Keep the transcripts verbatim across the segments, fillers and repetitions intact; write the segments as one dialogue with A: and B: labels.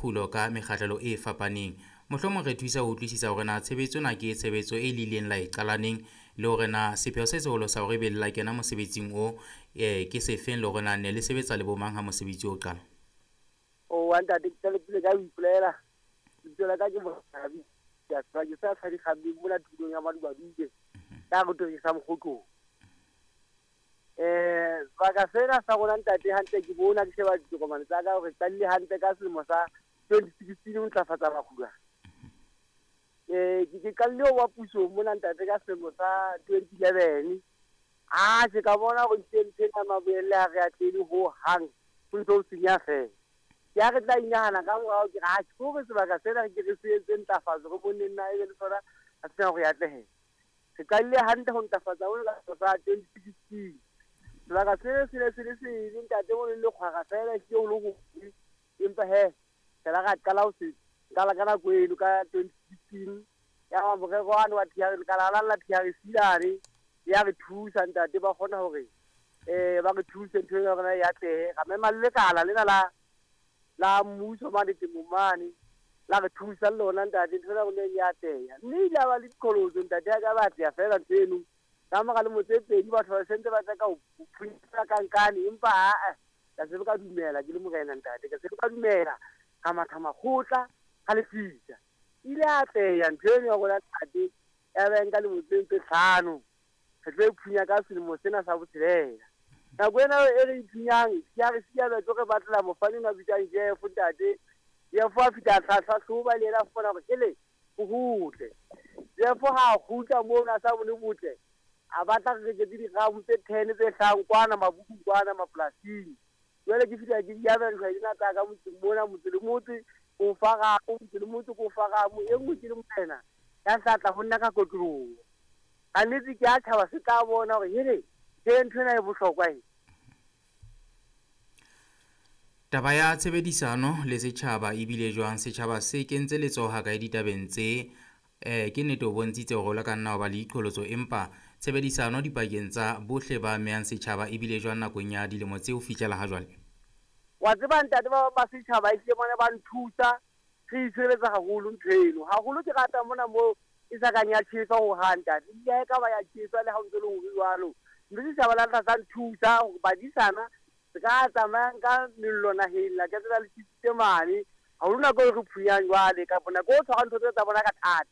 A: makgulo ka mekgahlelo e fapaneng. Mohlomong re thusa ho utlwisisa hore na tshebetso ena ke tshebetso e le ileng la e qalaneng le hore na sepheo se seholo sa hore ebe le la kena mosebetsing o eh, ke sefeng, le hore na ne le sebetsa le bomang ha mosebetsi o qala.
B: O wa ntate, ke qale pele ka ho ipolela. Lebitso la ka ke Morabi. Ke a tseba ke sa Tshadikgabeng mona tulong ya Madubadube. Ka re torisa Mokgotlong. Eh, sebaka sena sa rona ntate hantle ke bona ke sheba ditokomane tsa ka hore qadile hantle ka selemo sa twenty sixteen ho ntlafatsa makgulo. Eh, ke ke qadile ho ba puso mona ntate ka selemo sa twenty eleven. Ah, ke ka bona hore ntho ena maboelle ha re atlehile ho hang, ho ntso ho senya feela. Ke ha re tla inahana ka morao ke re, ha ke hore sebaka sena re ke re se etse ntlafatso, re bone nna ebe le sona ha se na hore e atlehe. Re qadile hantle ho ntlafatsa mona ka selemo sa twenty sixteen. Sebaka se se ne se le sebe ntate, mo le lekgwara feela, ehlile ho le hobe. Empa he, re la ra qala ho se qala ka nako eno ka twenty sixteen. Ya ba morero wane wa T R, lekala la la T R C lane, ya re thusa ntate, ba kgona hore, eh, ba re thuse ntho ena ya rona e atlehe. Ra mema le lekala lena la, la mmuso mane temong mane, la re thusa le lona ntate, ntho ena ya rona e atleha. Mme ile ya ba le diqholotso ntate, ya ka ba atleha feela ntho eno. Ka mora lemo tse pedi batho ba sentse ba tla ka ho phunyetsa ka nkane, empa ha-eh, ka se ka dumela ke le morena ntate, ka se ka dumela ka matha makgotla ka lefisa. Ile ya atleha ntho eno ya rona ntate, ya ba nka lemo tse tse hlano. Re tlo e phunya ka selemo sena sa botshelela. Nako ena e re e phunyang, ke ha re siya batho re batlela mofani ona bitswang Jeff ntate. Jeff a fihla a hlahloba le yena a fumana hore hele, ho hotle. Jeff ha a kgutla moo a sa bone botle, a batla re reketse diramo tse ten tse hlahang kwana mabukung kwana mapolasing. Jwale ke fihla ke di abela dihwai tsena tsa ka motseng mona, motse le motse, ko fa ramo, motse le motse ko fa ramo. E nngwe ke le morena ya tla tla ho nna ka kotloloho. Ka nnete ke a tjhaba se tla bona hore hele, ke ntho ena e bohlokwa e.
A: Taba ya tshebedisano le setjhaba ebile jwang? Setjhaba se kentse letsoho ha kae ditabeng tse? Eh, ke nnete o bontshitse hore o le ka nna wa ba le diqholotso, empa tshebedisano dipakeng tsa bohle ba amehang setjhaba ebile jwang nakong ya dilemo tse ho fihlela ha jwale?
B: Wa tseba ntate, ba ba setjhaba ehlile bona ba nthusa, re itshireletsa haholo ntho eno. Haholo ke rata mona moo e sa kang ya tjheswa hohang ntate. Ebile ha e ka ba ya tjheswa le ha o ntso le hore jwalo. Mme setjhaba la tla sa nthusa hore badisana se ka tsamayang ka mello naheng la ka tsela le tjhesitse mane. Haholo nako e re phunyang jwale, kapa nako o tshwarang ntho tse tsa bona ka thata.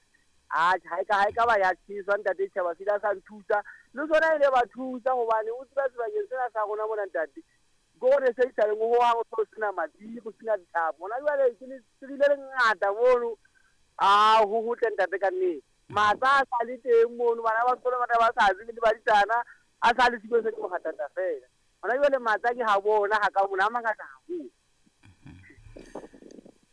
B: Atjhe, ha e ka, ha e ka ba ya tjheswa ntate, setjhaba se ile sa nthusa. Le sona ile ba thusa hobane o tseba sebakeng sena sa rona mona ntate, ke hore se isaleng ho hang ho sena madi, ho sena dithapo. Hona jwale ke le tsebile le ngata mono. Ah, ho hotle ntate ka nnete. Matsa a sa le teng mono, bana ba sekolo bana ba sa tsebe le badisana, a sa le siko se ke mohatata feela. Hona jwale matsa ke ha bona ha ka mona a mangata haholo.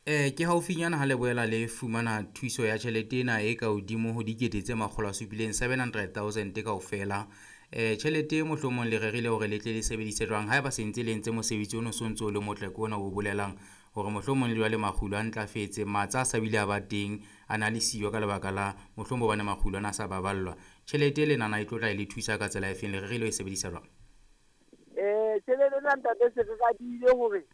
A: Eh, ke haufinyana ha le boela le fumana thuso ya tjhelete ena e ka hodimo ho dikete tse makgolo a supileng, seven hundred thousand kaofela. Eh, tjhelete mohlomong le rerile hore le tle le sebedise jwang haeba se ntse le entse mosebetsi ono so ntso o le motle ke ona o bolelang hore mohlomong le jwale makgulo a ntlafetse, matsa a sa bile a ba teng, a na le siyo ka lebaka la mohlomong hobane makgulo ana a sa baballwa. Tjhelete le nana e tlo tla e le thusa ka tsela efeng, le rerile ho e sebedisa jwang?
B: Eh, tjhelete ena ntate se re radile hore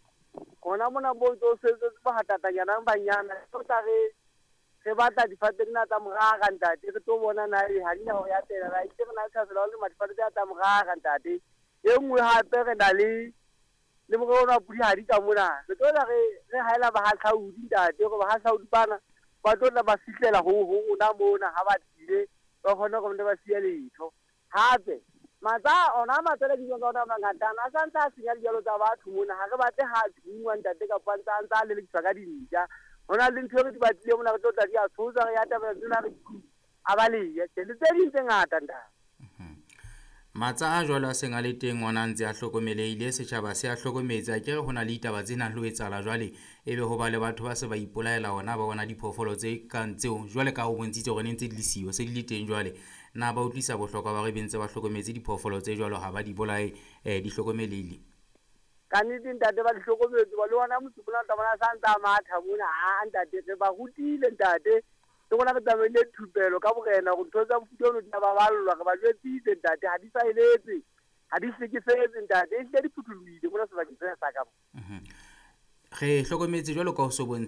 B: hona mona bo tlo sebetsa bahatatanyana banyana, re tla re re batla difate tsena tsa morara ntate, re tlo bona na e ha di na ho ya tela, ra itse re na le tlhaselo ya ho lema difate tsena tsa morara ntate. E nngwe hape re na le le morero ona wa pudihadi ka mona, re tlo tla re, re haela bahahlaudi ntate, hore bahahlaudi bana ba tlo tla ba fihlela ho, ho rona mona ha ba tlile, ba kgone hore ba siye letho. Hape matsa ona matsa le dijalo tsa ona mangata a sa ntse a senya dijalo tsa batho mona, ha re batle ha thungwa ntate kapa a ntse a ntse a lelekiswa ka dintja. Ho na le ntho e re di batlile mona, re tlo tla di a tshosa, re ya tabela tsena re a balehe. Tjhe, le tse ding tse ngata ntate.
A: Matsa a jwalo a seng a le teng ona a ntse a hlokomelehile, setjhaba se a hlokometse. A ke re ho na le ditaba tse nang le ho etsahala jwale, ebe ho ba le batho ba se ba ipolaela ona, ba bona diphoofolo tse kang tseo jwale ka ho bontshitse hore ne ntse di le siyo, se di le teng jwale. Na ba utlwisa bohlokwa ba hore be ntse ba hlokometse diphoofolo tse jwalo, ha ba di bolaye, eh, di hlokomelehile?
B: Ka nnete ntate ba di hlokometse, ba le ona motse mona o tla bona sa ntse a matha mona. Ha, ntate, re ba rutile ntate, le rona re tsamaile thupelo ka borena hore ntho tsa mofuta ono di a baballwa, re ba jwetsitse ntate, ha di sa eletse, ha di hlekefetse ntate, ehlile di phuthulohile mona sebakeng sena sa ka mo.
A: Mhm. Re hlokometse jwalo ka ho so bontshe